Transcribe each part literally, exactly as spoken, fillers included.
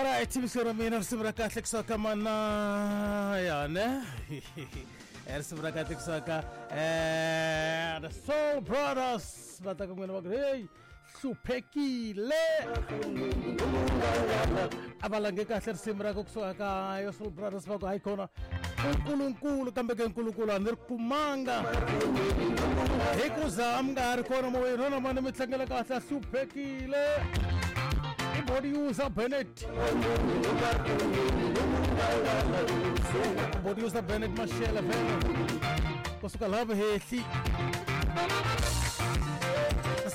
Alright, msura mina risimu ra kahle kusuka mana ya ne risimu ra kahle kusuka eh the Soul Brothers va ta ku n'wina va ku hey hluphekile a va lange kahle risimu ra ku kusuka ka yo Soul Brothers va ku hayi kona nkulunkulu kambe ke nkulunkulu a ni ri kumanga hi ku za mi nga ha ri kona moyeni na mani mi tlangela kahle a hluphekile body user Bennett body user Bennett Mashela vele kusuka lava hehli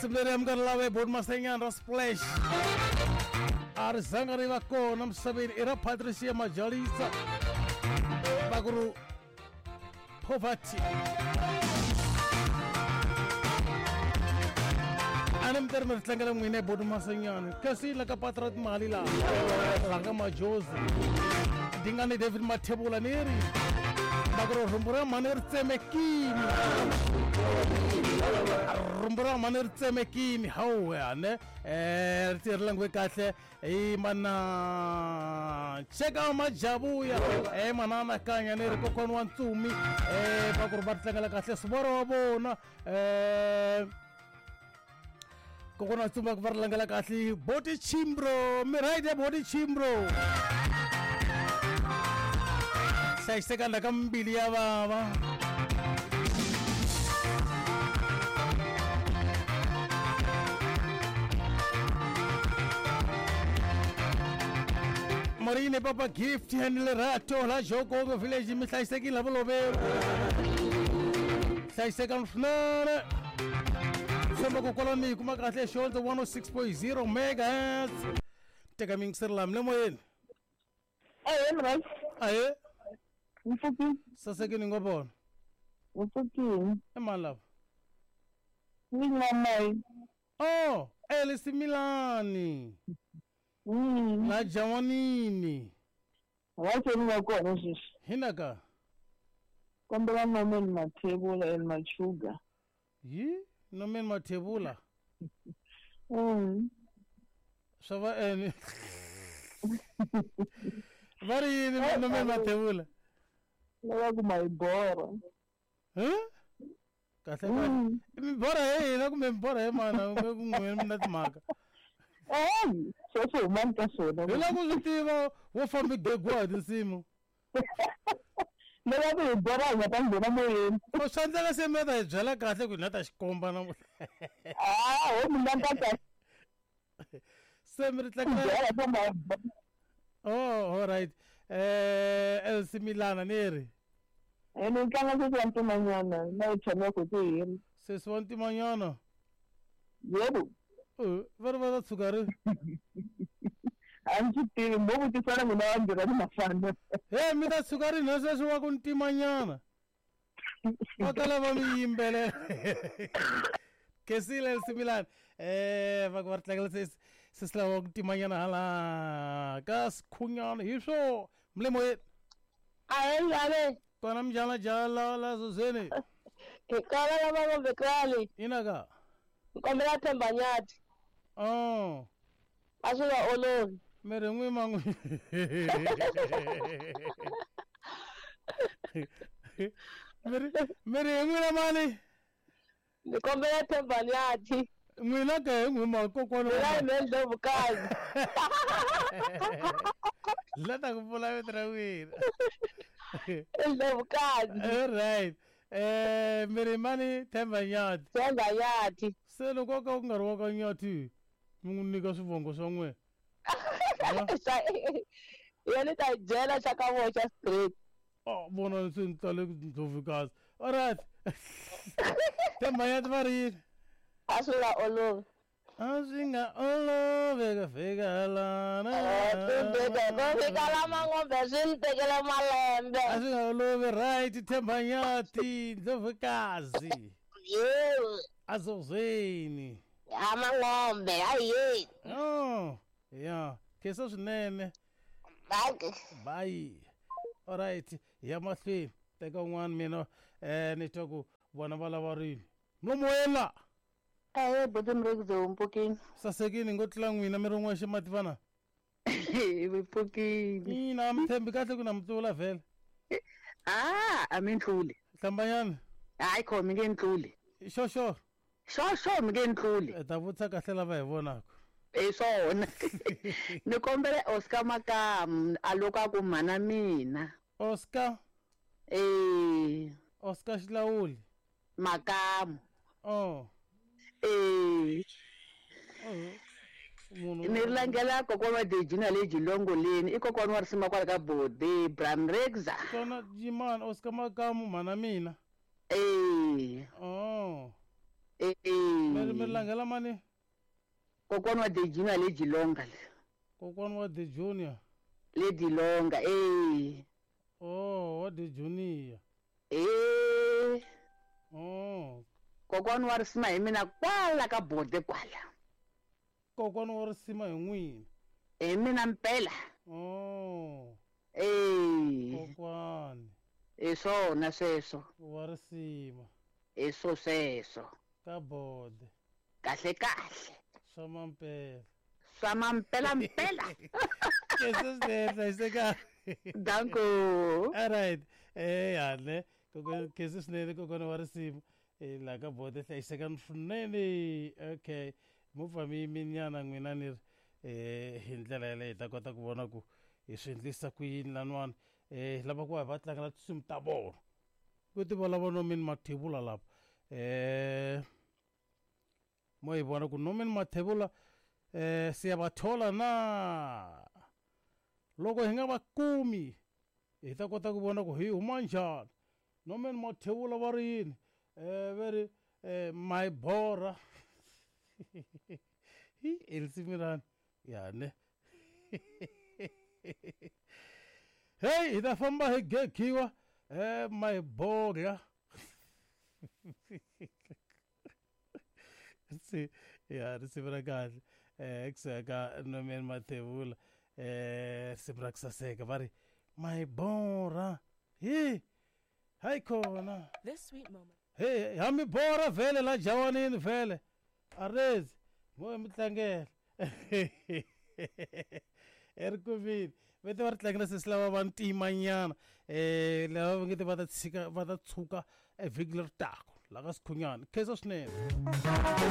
simlere am gonna lava board masenyan ra splash a ri zanga ri va kona misaveni i ra Patricia Majalisa baguru poverty ana mi ri mi ri tlangela n'wina hi bodi Masenyani kasi la ka patra timali laha la nga majozi dingani David Mathebula ni ri va ku ri rhumbu ra mhani ri tsemekini rhumbu ra mhani ri tsemekini hawu ane um ri ti ri langiwe kahle hi mana cheka majavuya e mana anakanya ni ri kokwana wa ntsumi um va ku ri va ri tlangela kahle sivoro wa vona um kokwana tsumba ku va ri langela kahle boti chimbro mi right ya boti chimbro hlayiseka la ka mbili ya vava Marine Papa Gift and Lerato la Jokongo village mi hlayisekile la vuloveri hlayisekani swinene tshemba ku kwala mi yi kuma kahle xondzo one oh six point zero megahertz teka miyingiseri lami le moyeni Ahee mrhasi ahee mpfukini sasekini ngo vona mpfukini i mani lava mina oh Elisimilani mm la Jawanini wacho ni nga kona sweswi hinaka kombela Norman Mathebula and Machuga yi Norman Mathebula mm swa va ene va ri yini Norman Mathebula lava ku ma hi borha huh kahle kahle mi borha hi hina kumbe mi borha hi mana kumbe ku n'wina mi na timhaka eyi sweswo humani ka swona hi lava ku swi tiva wo fambi gegiwa hi tinsimu lava ku hi borha hi nga ta nghena moyeni o swi endleka se mi ta hi byela kahle ku hi na ta xikomba namuntlha a ho mina ni ta ta se mi ri tlangela oh all right eh Elsimilana ni ri ene ni tlanga sesi wa ntimanyana na yi tshamaka ku hina sesi wa ntimanyana yebo va ri va ta tshuka ri a ndzi swi tivi mo vutisana n'wina vambirhi ni mafana he mi ta tshuka ri na sweswi wa ku ntimanyana va ta lava mi yimbelela Kesile Elsimilana eh va ku va ri tlangela sesi sesi lava ku ntimanyana hala ka sikhunyana hi swo mi le moyeni Ahee njhani kona mjala jala la zuzeni hi kona lava ngombe krali inaka nkombela Themba Nyathi oh a swi nga olovi mi ri n'wi man'wi mi ri mi ri hi n'wina mani ni kombela Themba Nyathi n'wina ke hi n'wi ma kokwana mina hi me Ndlovukazi la ta ku pfula vito ra n'wina Ndlovukazi all right eh mi ri mani Themba Nyathi Themba Nyathi se loko ka ku nga ri wa ka Nyathi mi n'wi nyika swivongo swa n'wina yena ni ta yi byela xa ka vona xa straight oh vona se ni tale Ndlovukazi all right Themba Nyathi va ri yini a swi nga olovi a swi nga olovi ku fika lana ku fika la mangombe swi ni tekele malembe a swi nga olovi right Themba Nyathi Ndlovukazi yebo azozweni ya mangombe ayi oh ya kesa swinene bye bye all right ya mahlweni teka un'wana mina eh ni twa ku vona va lava rini mlomo la Ahee buti Mrekze mpfukini sasekini ngo tlula n'wina mi ri n'wexe mativana Mi pfukile. Ina, mi tshembi kahle ku na mi tlula vhele. Ah, a mi ntluli. Hlambanyana. Hayi kho mi nge ntluli. Xo xo. Xo xo mi nge ntluli. Hi ta vutisa kahle lava hi vonaka. Hi swona. Ni kombela Oscar Makamu a loko a ku mhana mina. Oscar? Eh. Oscar Xilawuli. Makamu. Oh. Eh. Oh. Munhu Ni langela kokwana wa Dejina le Jilongoleni, i kokwana wa risima kwala ka Bode, Bram Rexa. Kona yimani Oscar Makamu mhana mina. Eh. Oh. Eh. Mi mi langela mani? Kokwana wa Dejina le Jilonga le. Kokwana wa De Junior. Le Dilonga, eh. Oh, wa De Junior. Eh. Oh. Kokwana wa risima hi mina kwala ka Bode kwala. Kokwana wa risima hi n'wina. Hi mina mpela. Oh. Eh. Kokwani. Hi swona sweswo. Wa risima. Hi swo sweswo. Ka Bode. Kahle kahle. Swa mampela. Swa mampela mpela. Kesho swinene, hlayiseka. Danko. All right. Eh yale. Koko kesho swinene kokwana wa risima. Eh la ka Bode hlayiseka swinene. Okay. Mupfa mi minyana n'wina ni ri eh hi ndlela yaleyo hi ta kota ku vona ku hi swi endlisa ku yini laniwani. Eh lava ku va va tlangela tinsimu ta vona. Ku ti valava Norman Mathebula lapa. Eh mo hi vona ku Norman Mathebula eh siyabathola na. Loko hi nga va kumi hi ta kota ku vona ku hi huma njhani. Norman Mathebula va ri yini? Eh va ri eh my bora. Hi elisimu rani ya ne. Hey, hi ta famba hi gegiwa eh my bora. Si ya risimu ra kahle eh kusuka ka Norman Mathebula eh risimu ra ku saseka va ri my bora. Hi hayi khona. This sweet moment. Hey, ha mi bora vhele la jawanini vhele. Arezi mo mi tlangela. Erikumini vete va ri tlangela sesi lava va ntimanyana eh lava va nge te va ta tshika va ta tshuka evhiki leri taka la ka Sikhunyana. Khensa swinene.